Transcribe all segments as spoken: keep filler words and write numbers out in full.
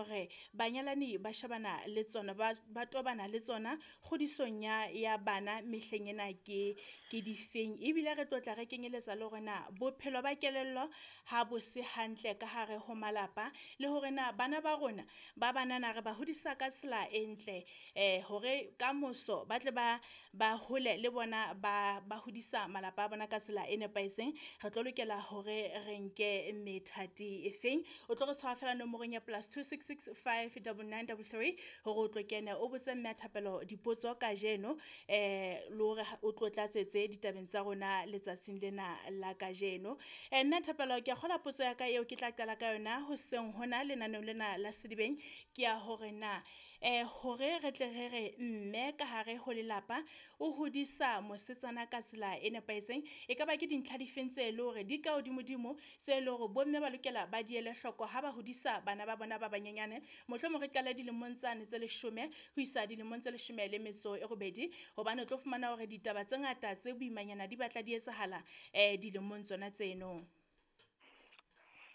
hore banyalani ba shebana le tsona, ba ba tobana le tsona kgodisong ya ya bana mehleng ena ke ke difeng. Ebile re tlo tla re kenyeletsa le hore na bophelo ba kelello ha bo se hantle ka hare ho malapa, le hore na bana ba rona ba banana re ba hodisa ka tsela e ntle eh hore kamoso ba tle ba ba hole le bona ba ba hodisa malapa a bona ka tsela e nepahetseng. Re tlo lokela hore re nke methati e feng. O tlo re tshwara fela nomorong ya plus two six six five double nine double three hore o tlo kene o botse mme a Thapelo dipotso kajeno, eh le hore o tlo tlatsetse ditabeng tsa rona letsatsing lena la kajeno. Eh mme a Thapelo, ke a kgola potso ya ka eo ke tla qala ka yona hoseng hona lenaneong lena la Sedibeng ke ya hore na eh hore re tle re re mme ka hare ho lelapa o hodisa mosetsana ka tsela e nepahetseng, e ka ba ke dintlha difeng tse le hore di ka hodimodimo tse le hore bomme ba lokela ba di ele hloko ha ba hodisa bana ba bona ba banyenyane, mohlomong re qale dilemong tsane tse leshome ho isa dilemong tse leshome le metso e robedi, hobane o tlo fumana hore ditaba tse ngata tse boimanyana di batla di etsahala eh dilemong tsona tseno.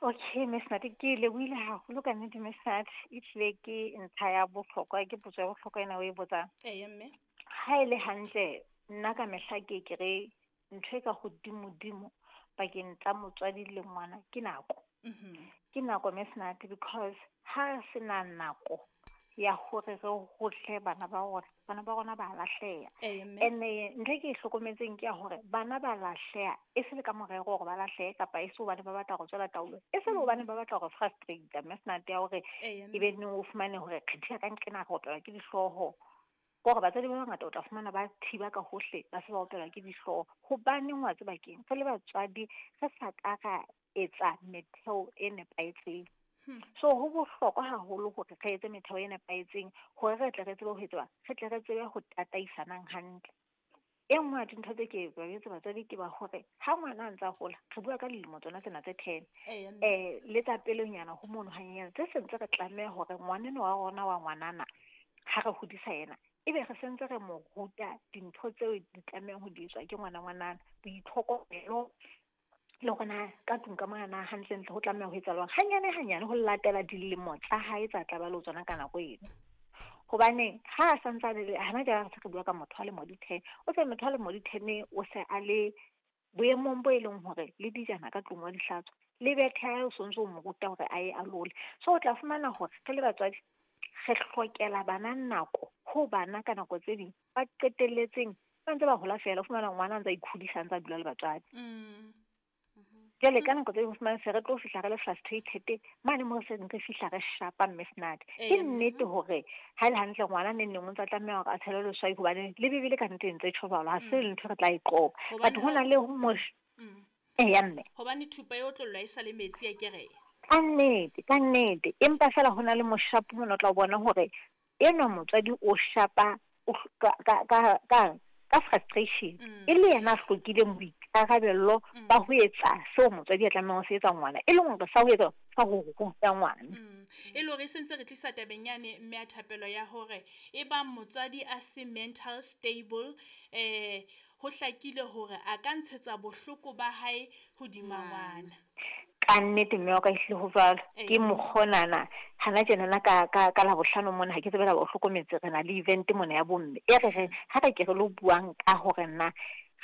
Okay, Miss Nati, ke lebohile haholo ka nnete, Miss Nati. Ehlile ke ntlha ya bohlokwa, ke potso ya bohlokwa ena o e botsang. Eya mme. Ha e le hantle, nna ka mehla ke ke re ntho e ka hodimodimo pakeng tsa motswadi le ngwana ke nako. Mhm. Ke nako, Miss Nati, because ha re sena nako ya hore re hohle bana ba rona, bana ba rona ba lahleha. Eya mme. Ene ntho e ke e hlokometseng ke ya hore bana ba lahleha e se le ka morero hore ba lahlehe, kapa e se hobane ba batla ho tswela taolo, e se le hobane ba batla hore frustrate, Miss Nati, ya hore Eya e be mme. neng o fumane hore kgethiya ka nqena re opelwa ke dihlooho. Ke hore batswadi ba bangata o tla fumana ba thiba ka hohle, ba se ba opelwa ke dihlooho. Hobaneng wa tseba keng? Re le batswadi re sa ka ra etsa metheo e nepahetseng. Hmm. So ho bohlokwa haholo hore re etse metheo e nepahetseng hore re tle re tsebe ho etsa, re tle re tsebe ho tataisanang hantle. E nngwe ya dintho tse ke ba jwetse batswadi ke ba hore ha ngwana a ntsa hola, re bua ka dilemo tsona tsena tse ten, Eya mme. eh le tsa pelenyana ho mono hanyenyane, tse sentse re tlameha hore ngwanenwa wa rona wa ngwanana ha re hodisa yena, ebe re sentse re mo ruta dintho tseo di tlamehang ho di etswa ke ngwana ngwanana, boitlhokomelo le hore na ka tlung ka mona na hantlentle ho tlameha ho etsahalang hanyane hanyane ho latela dilemo tsa hae tsa tla ba le tsona ka nako eno. Hobane ha a santsane le hana jwale, re se re bua ka motho a lemo di ten, o se motho a lemo di ten o se a le boemong bo e leng hore le dijana ka tlung wa di hlatswa, le bethe ya hae o sontso o mo ruta hore a ye a lole. So o tla fumana hore re le batswadi re hlokela bana nako, ho bana ka nako tse ding ba qetelletseng ba ntse ba hola feela, o fumana ngwana a ntse a ikhodisa a ntse a dula le batswadi. Mm. Jwale ka nako tse ding o fumane se re tlo fihla re le frustrated mane moo se re fihla re shapa, Miss Nati. Ke Eya mme. nnete hore ha ele hantle ngwana neng neng o ntsa tlameha hore a tshele leswai, hobane le Bebele ka nnete e ntse e tjho jwalo, ha se Mm. ntho re tla e qoba. But Hobane ho ha na le ho mosh Mm. Eya mme. Hobane thupa e otlollwa e sa le metsi akere. Ka nnete, ka nnete. Empa feela ho na le moshapo mona o tla bona hore enwa motswadi o shapa o ka ka ka ka ka frustration, Mm. e le yena a hlokileng boikarabello Mm. ba ho etsa seo motswadi a tlamehang ho se etsa ngwana, e leng hore sa ho etsa sa ho ruta ngwana. Mm. E le hore e sentse re tlisa tabeng yane mme a Thapelo ya hore e bang motswadi a se mental stable, eh ho hlakile hore a ka ntshetsa bohloko ba hae hodima ngwana. Ka nnete mme wa ka, ehlile ho jwalo. Ke Eya. mokgonana hana tjenana ka ka ka Labohlano mona, ha ke tsebe la o hlokometse, re na le event mona ya bomme e re reng ha re ke re lo buang ka hore na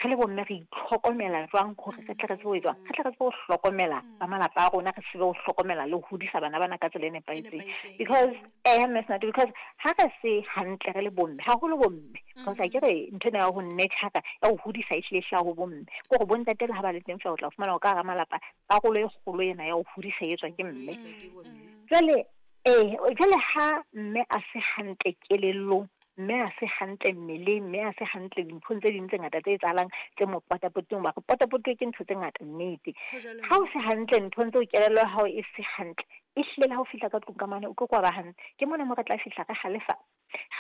re le bomme re itlhokomela jwang hore re tle re tsebe ho etsang, re tle re tsebe ho hlokomela ba malapa a rona, re tsebe ho hlokomela le ho hodisa bana bana ka tsela e nepahetseng. Nepahetseng. Because eh Miss Nati, because ha re se hantle re le bomme, haholo bomme, because ha ke re ntho ena ya ho nurture ya ho hodisa e hlile e hlaha ho bomme, ke hore bontate le ha ba le teng fela o tla fumana hore ka hara malapa karolo e kgolo ena ya ho hodisa e etswa ke mme. Etswa ke bomme. Jwale eh jwale ha mme a se hantle kelellong, mme a se hantle mmeleng, mme a se hantle dinthong tse ding tse ngata tse etsahalang tse mo potapotileng, ba re potapotuwe ke ntho tse ngata nnete. Ho jwalo Ha o mme. se hantle nthong tseo, kelello ya hao e se hantle, ehlile le ha o fihla ka tlung ka mane o ke ke wa ba hantle. Ke mona mo re tla fihla re halefa,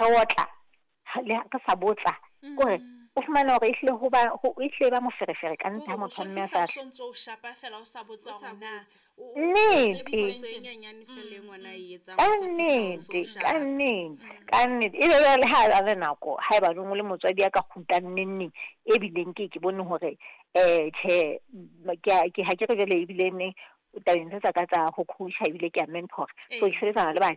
re otla, ha le re sa botsa, kore Mm. o fumana hore ehlile ho ba ho ehlile ba moferefere ka nnete ha Kore o motho so wa mme a fihla o sa sontso o shapa fela o sa botsa O sa hore na botse. o o Nnete. Phoso e nyenyane fela e ngwana e etsang, Ka o so fihla o so nnete, ka shapa. nnete, ka nnete. Ebe jwale ha a le nako, haeba o le motswadi ya ka kgutlang neng neng, e bileng ke ke bone hore eh tjhe, ke a ke ha ke re jwale ebile neng tabeng tse tsa ka tsa ho coach-a, ebile ke a mentor, so ke Ee. sebetsana le batjha.